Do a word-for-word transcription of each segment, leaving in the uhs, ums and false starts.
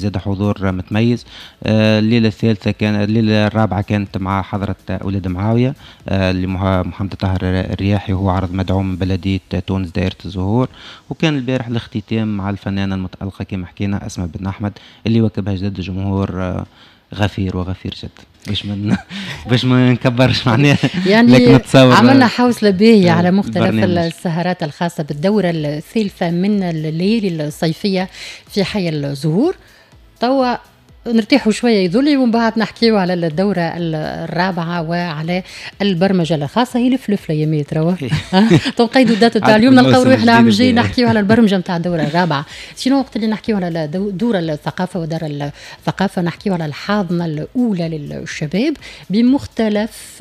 زاد حضور متميز. آه، الليلة الثالثة كان الليلة الرابعة كانت مع حضره اولاد معاوية آه، اللي محمد طاهر الرياحي، وهو عرض مدعوم من بلديه تونس دائرة الزهور. وكان البارح الاختتام مع الفنانة المتالقه كما حكينا اسماء بن احمد، اللي واكبها جدد جمهور آه، غفير وغفير جدا، باش من باش ما نكبرش معناها. يعني لكن عملنا حوصله باهيه على مختلف البرنامج. السهرات الخاصة بالدوره الثالثة من الليالي الصيفية في حي الزهور. توا نرتاحوا شوية يذولي، ومن بعد نحكيو على الدورة الرابعة وعلى البرمجة الخاصه. هي لف يا ميت روا تنقيدوا ال date تاع اليوم، نلقاو روحنا العام الجاي نحكيو على البرمجة نتاع الدورة الرابعه. sinon وقت اللي نحكيو على دور الثقافة ودار الثقافه، نحكيو على الحاضنة الاولى للشباب بمختلف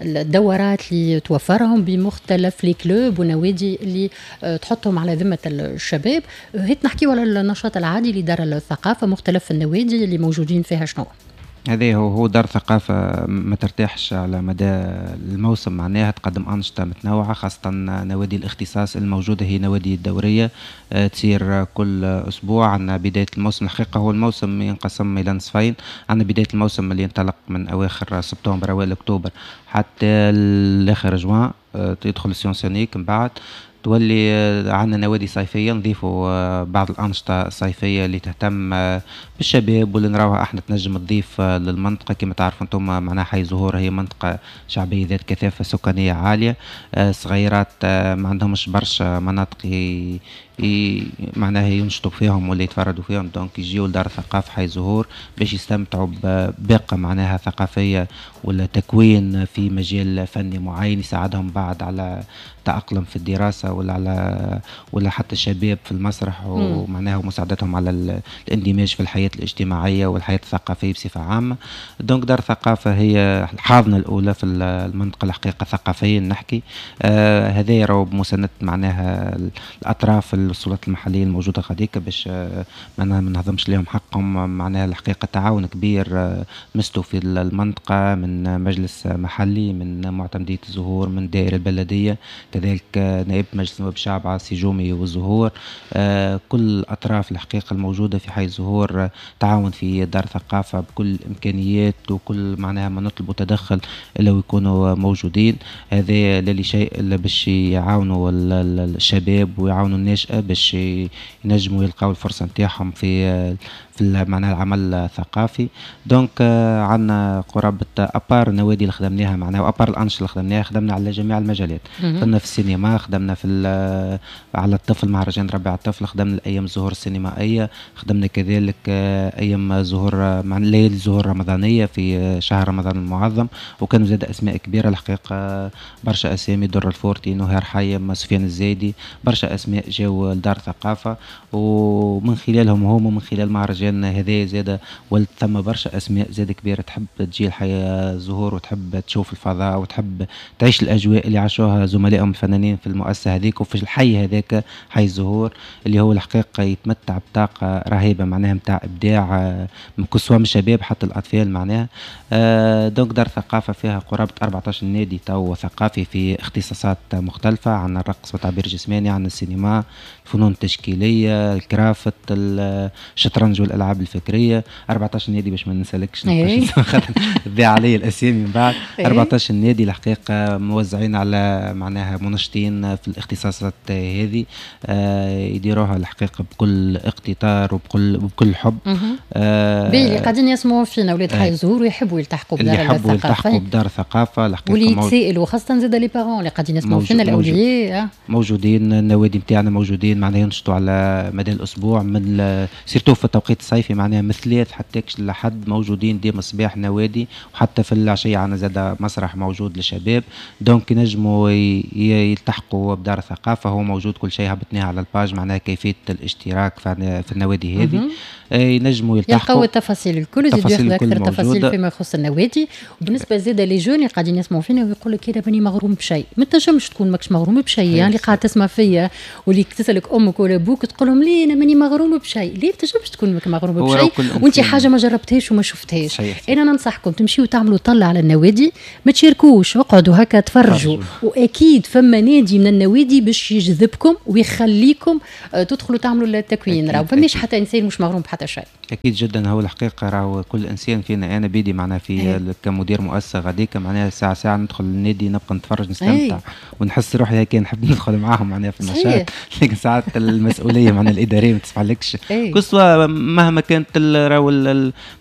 الدورات اللي توفرهم، بمختلف les clubs ونوادي اللي تحطهم على ذمه الشباب. هيت نحكيو على النشاط العادي لدار الثقافه، مختلف النوادي اللي موجودين فيها شنو؟ هذا هو هو دار ثقافة ما ترتاحش على مدى الموسم، معناها تقدم أنشطة متنوعة، خاصة نوادي الاختصاص الموجودة هي نوادي الدورية آه، تصير كل أسبوع. عندنا بداية الموسم، الحقيقة هو الموسم ينقسم إلى نصفين، عندنا بداية الموسم اللي ينطلق من أواخر سبتمبر أوائل أكتوبر حتى الآخر جوان، آه، يدخل ال sens unique. من بعد تولي آه، عندنا نوادي صيفية، نضيفوا آه، بعض الأنشطة الصيفية اللي تهتم آه، بالشباب واللي نراوها احنا تنجم تضيف للمنطقة. كما تعرفوا انتم معناها حي زهور هي منطقة شعبية ذات كثافة سكانية عالية، صغيرات ما عندهمش برشا مناطق ي... معناها ينشطوا فيهم ولا يتفردوا فيهم، donc يجيو لدار الثقافة حي زهور باش يستمتعوا بباقة معناها ثقافية ولا تكوين في مجال فني معين يساعدهم بعد على تأقلم في الدراسة ولا على ولا حتى الشباب في المسرح، ومعناها مساعدتهم على الاندماج في الحياة الاجتماعية والحياة الثقافية بصفة عامة. donc دار الثقافة هي الحاضنة الأولى في المنطقة الحقيقة ثقافيا نحكي. آه هذا يراو بمساندة معناها الأطراف السلطات المحلية الموجودة غاديك، باش آه معناها ما نهضمش لهم حقهم. معناها الحقيقة تعاون كبير آه مستو في المنطقة من مجلس محلي، من معتمدية الزهور، من دائرة البلدية، كذلك نائب مجلس نواب الشعب عاصي جومي والزهور. آه كل الأطراف الحقيقة الموجودة في حي الزهور آه تعاون في دار ثقافة بكل الإمكانيات وكل معناها ما نطلبوا تدخل إلا ويكونوا موجودين. هذا لا لشيء إلا باش يعاونوا الشباب ويعاونوا الناشئة باش ينجموا يلقاو الفرصة نتاعهم في في معناها العمل الثقافي. donc عندنا قرابة à part النوادي اللي خدمناها معناها و à part الأنشطة اللي خدمناها، خدمنا على جميع المجالات. خدمنا في السينما، خدمنا في على الطفل مهرجان ربيع الطفل، خدمنا الايام الزهور السينمائيه، خدمنا كذلك ايام زهور مع ليالي الزهور الرمضانية في شهر رمضان المعظم، وكانوا زاد اسماء كبيرة الحقيقه، برشا اسامي، در الفورتي، نهار حيم، سفيان الزايدي، برشا اسماء جاوا لدار ثقافه، ومن خلالهم هم ومن خلال مهرجان هذا زاد ولد ثم برشا اسماء زاد كبيرة تحب تجي لحي الزهور وتحب تشوف الفضاء وتحب تعيش الاجواء اللي عاشوها زملائهم الفنانين في المؤسسة هذيك وفي الحي هذاك حي الزهور، اللي هو الحقيقة يتمتع بطاقة رهيبة معناها نتاع ابداع من كسوة من الشباب حتى الاطفال معناها. آه، donc دار ثقافة فيها قرابة أربعة عشر نادي تو ثقافي في اختصاصات مختلفه، عندنا الرقص والتعبير الجسماني، عندنا السينما، الفنون التشكيليه، الكرافت، الشطرنج والالعاب الفكريه. أربعة عشر نادي باش ما ننسالكش، إيه. تضيع علي الاسامي من بعد. أربعة عشر نادي الحقيقة موزعين على معناها منشطين في الاختصاصات هذه، آه يديروها الحقيقة بكل اقتدار وبكل بكل حب. آه اللي قاعدين يسمعوا فينا ولاد حي الزهور ويحبوا يلتحقوا بدار اللي يحبوا يلتحقوا بدار الثقافة الحقيقه، واللي يتسائلوا، خاصة زاد les parents اللي قاعدين يسمعوا فينا، الاولياء. موجودين النوادي نتاعنا موجودين، معناها ينشطوا على مدى الاسبوع، من surtout في التوقيت الصيفي معناها من ثلاث حتى لحد موجودين ديما الصباح نوادي، وحتى في العشية عندنا زاد مسرح موجود للشباب. donc ينجموا يلتحقوا بدار الثقافه، هو موجود كل شيء هبطناه على ال page معناها كيفية الاشتراك في النوادي هذه، آه، ينجموا يلتحقوا، يلقاو التفاصيل الكل، يزيدوا ياخذوا اكثر تفاصيل فيما يخص النوادي. وبالنسبة زاد les jeunes اللي قاعدين يسمعوا فينا ويقول لك انا ماني مغروم بشيء، ما تنجمش تكون ماكش مغروم بشيء. يعني اللي قاعد تسمع فيا واللي تسالك امك ولا ابوك تقول لهم ليه انا ماني مغروم بشيء، ليه تنجمش تكون ماك مغروم بشيء وانت حاجة ما جربتهاش وما شفتهاش؟ انا ننصحكم تمشيوا تعملوا طلة على النوادي، ما تشاركوش، اقعدوا هكا تفرجوا، واكيد فما نادي من النوادي باش يجذبكم ويخليكم آه، تدخلوا تعملوا التكوين. راهو فماش حتى انسان مش مغروم بحتى حتى شيء. اكيد جدا، هو الحقيقة راهو كل انسان فينا، انا بيدي معناها في أيه. كمدير مؤسسة غاديك معناها ساعة ساعة ندخل النادي نبقى نتفرج نستمتع أيه. ونحس روحي هيك نحب ندخل معاهم معناها في النشاط، لكن ساعات المسؤولية معناها الادارية ما تسمحلكش أيه. كسوا مهما كانت راهو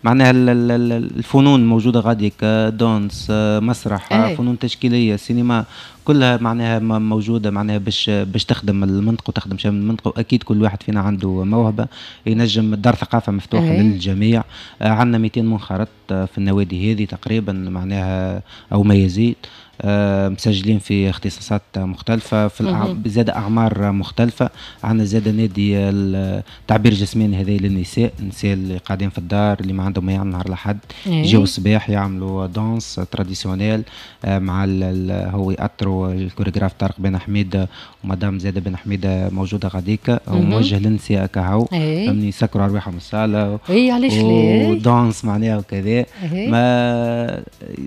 معناها الفنون موجودة غاديك، danse، مسرح أيه. فنون تشكيليه، سينما، كلها معناها موجودة معناها باش باش تخدم المنطقة وتخدم شمال المنطقة. واكيد كل واحد فينا عنده موهبة ينجم. دار ثقافة مفتوحة أيه. للجميع. عندنا مئتين منخرط في النوادي هذه تقريبا معناها او ما يزيد، مسجلين في اختصاصات مختلفة في الأع... زاد أعمار مختلفة. عندنا زاد نادي التعبير الجسماني هذا للنساء، النساء اللي قاعدين في الدار اللي ما عندهم ما يعملوا نهار الأحد يجيو الصباح يعملوا danse traditionnelle مع ال... هو يأطروا الكوريغراف طارق بن حميدة ومدام زادة بن حميدة موجودة غاديكا، وموجه للنساء كهو فهمني، يسكروا أرواحهم الصالة اي علاش ليه و danse معناها وكذا. ما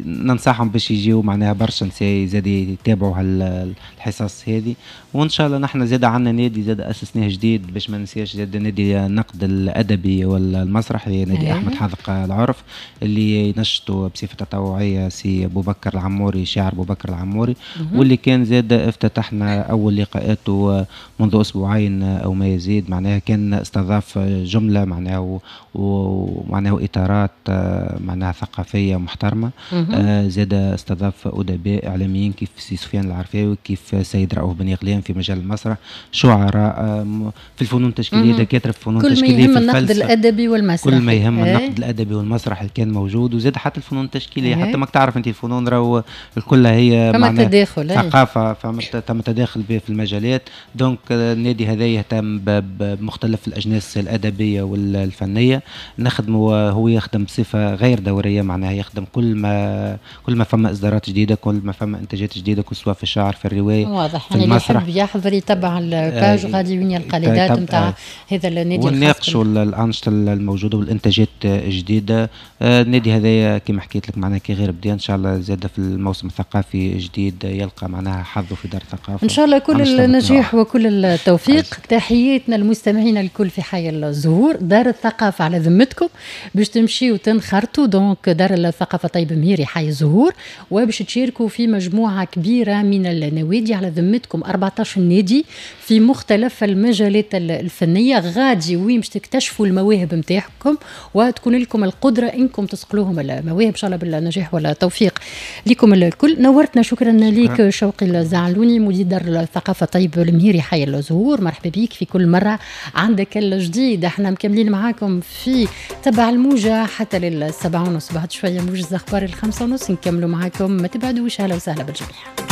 ننصحهم باش يجيو معناها برشا نساء زاد يتابعوا هالحصص هذه. وان شاء الله نحن زاد عندنا نادي زاد اسسناه جديد باش ما ننساش، زاد نادي النقد الادبي والمسرحي، نادي أيه. احمد حاذق العرف اللي ينشطوا بصفة تطوعية سي ابو بكر العموري، شاعر ابو بكر العموري، واللي كان زاد افتتحنا اول لقاءاته منذ اسبوعين او ما يزيد معناها. كان استضاف جملة معناها ومعناها اطارات معناها ثقافية محترمه. زاد استضاف ادباء اعلاميين كيف سي سفيان العرفاوي، كيف سيد رؤوف بن يغلان في مجال المسرح، شعراء في الفنون التشكيليه، دكاترة في الفنون التشكيليه، كل ما يهم النقد الادبي والمسرح، كل ما يهم النقد الادبي والمسرح اللي كان موجود. وزاد حتى الفنون التشكيليه، حتى ماك تعرف انت الفنون راهو الكل هي فما تداخل ثقافة، فما تم تداخل في المجالات. donc النادي هذا يهتم بمختلف الاجناس الادبية والفنية. نخدمه، هو يخدم بصفة غير دورية معناها يخدم كل ما كل ما فما اصدارات جديدة، كل ما فما انتاجات جديدة، سواء في الشعر، في الرواية، واضح. يعني اللي يحب يحضر يتبع ال page غادي وين يلقى les dates نتاع هذا النادي، ونناقشوا الانشطة الموجودة والانتاجات الجديدة. النادي هذايا كما حكيت لك معناها كي غير بدا، ان شاء الله زاد في الموسم الثقافي الجديد يلقى معناها حظه في دار الثقافة ان شاء الله. كل النجاح وكل التوفيق. تحياتنا المستمعين الكل في حي الزهور. دار الثقافة على ذمتكم باش تمشيو وتنخرطوا، donc دار الثقافة طيب مهيري حي الزهور، وباش تشاركوا في مجموعة كبيرة من النوادي على ذمتكم، أربعة عشر نادي في مختلف المجالات الفنية. غادي وين باش تكتشفوا المواهب نتاعكم وتكون لكم القدرة انكم تصقلوهم المواهب ان شاء الله بالنجاح والتوفيق لكم الكل. نورتنا، شكرا لك شوقي الزعلوني مدير دار الثقافة طيب المهيري حي الزهور. مرحبا بك في كل مرة عندك الجديد. احنا مكملين معاكم في تبع الموجه حتى للسبعة ونص، بعد شوية موجز اخبار الخمسة ونص نكملوا معاكم، ما تبعدوش. اهلا وسهلا بالجميع.